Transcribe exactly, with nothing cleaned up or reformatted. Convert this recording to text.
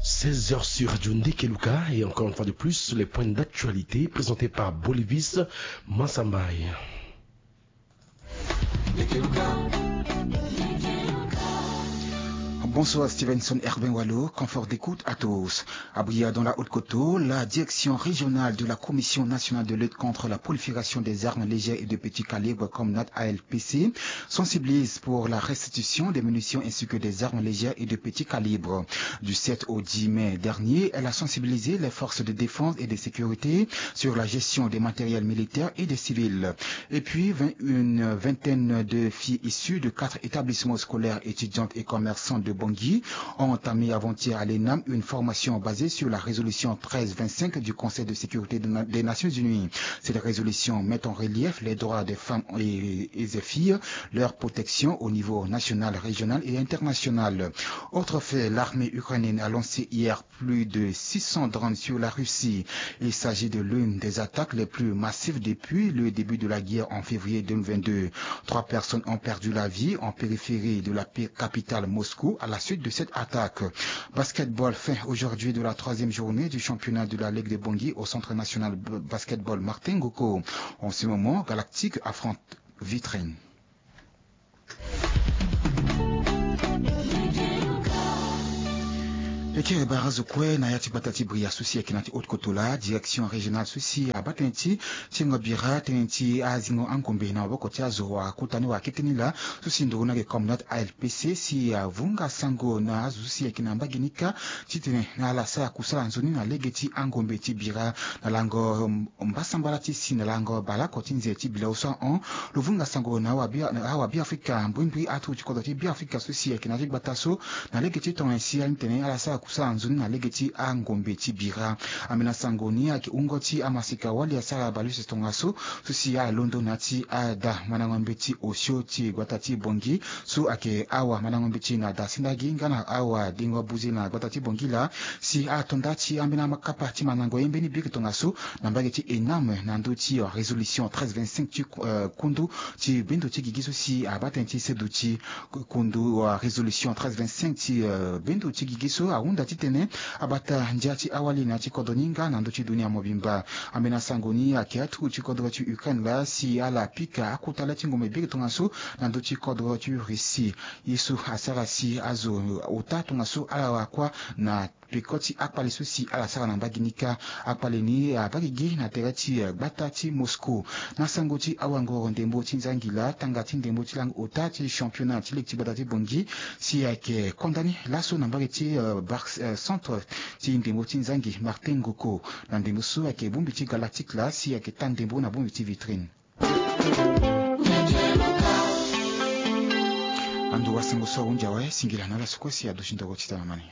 Seize heures sur Radio Ndekeluka et encore une fois de plus, les points d'actualité présentés par Bolivis Mansambay. Bonsoir Stevenson Herbin Walo, confort d'écoute à tous. Abria dans la Haute-Kotto, la direction régionale de la Commission nationale de lutte contre la prolifération des armes légères et de petits calibres, comme N A T A L P C, sensibilise pour la restitution des munitions ainsi que des armes légères et de petits calibres. Du sept au dix mai dernier, elle a sensibilisé les forces de défense et de sécurité sur la gestion des matériels militaires et des civils. Et puis, vingt, une vingtaine de filles issues de quatre établissements scolaires, étudiantes et commerçantes de Bangui ont entamé avant-hier à l'ENAM une formation basée sur la résolution treize vingt-cinq du Conseil de sécurité de na-, des Nations Unies. Cette résolution met en relief les droits des femmes et, et des filles, leur protection au niveau national, régional et international. Autre fait, l'armée ukrainienne a lancé hier plus de six cents drones sur la Russie. Il s'agit de l'une des attaques les plus massives depuis le début de la guerre en février deux mille vingt-deux. Trois personnes ont perdu la vie en périphérie de la pi-, capitale Moscou à la suite de cette attaque. Basketball, fin aujourd'hui de la troisième journée du championnat de la Ligue de Bangui au Centre national b-, basketball Martin Ngoko. En ce moment, Galactique affronte Vitrine. E kiri bara azo kue na ya ti gbata ti Bria so si ayeke na ya ti Haute-Kotto laa, direction régionale so si abaa tënë ti tingo bira tënë ti azingo angombe na maboko ti azo wakota ni wakete ni laa, so si nduru ni ayeke comme N A T A L P C si avunga sango na azo so si ayeke na mbage ni kâ titene ala sara kusala nzoni na lege ti angombe ti bira na lango mbasambala ti si na lango baleoko ti nze ti bilao so ahon. Lo vunga sango na awa Bia-, na awa Biafrika, mbrimbri atu ti kodro ti Biafrika so si ayeke na ya ti gbata so na lege ti tongana si ala tene ala sara kusala nzoni na lege ti angombe ti bira. Ambeni asango ni ayeke wungo ti amaseka wali asara baleuse tongaso so si ala londo na ya ti ada mandango mbeti osio ti gbata ti Bangui so ayeke awa mandango mbeti na dasendagi nga na awa dengo buze na gbata ti Bangui laa, si ato nda ti ambeni amakapa ti mandango ye mbeni biri tongaso na mbage ti ENAM na ndö ti, euh, résolution treize vingt-cinq ti, euh, kundu ti bendo ti gigi so si abaa tënë ti seduti kundu, euh, résolution treize vingt-cinq ti, euh, bendo ti gigi so ahunda titene abata ndia ti awali na ya ti kodro ni nga na ndö ti dunia mobimba. Ambeni asango ni ayeke atu ti kodro ti Ukraine laa si ala pika akota le ti ngombe biri tongaso na ndö ti kodro ti Russie. Ye so asara si azo ota tongaso ala wara kuâ na peko ti akpale so si ala sara na mbage ni kâ. Akpale ni abaa gigi na tere ti, eh, gbata ti Moscou. Na sango ti awangoro ndembo ti nzangi laa, tanga ti ndembo ti langue ota ti championnat ti ligue ti gbata ti Bangui si ayeke konda ni laso na mbage ti, eh, bar-, eh, centre ti ndembo ti nzangi Martin Ngoko. Na ndembo so ayeke bongbi ti Galactique laa si ayeke taa ndembo na bongbi ti Vitrine. Ando wa sango so ahunzi awe, singila na ala so kue si aduti ndoro ti tana mani.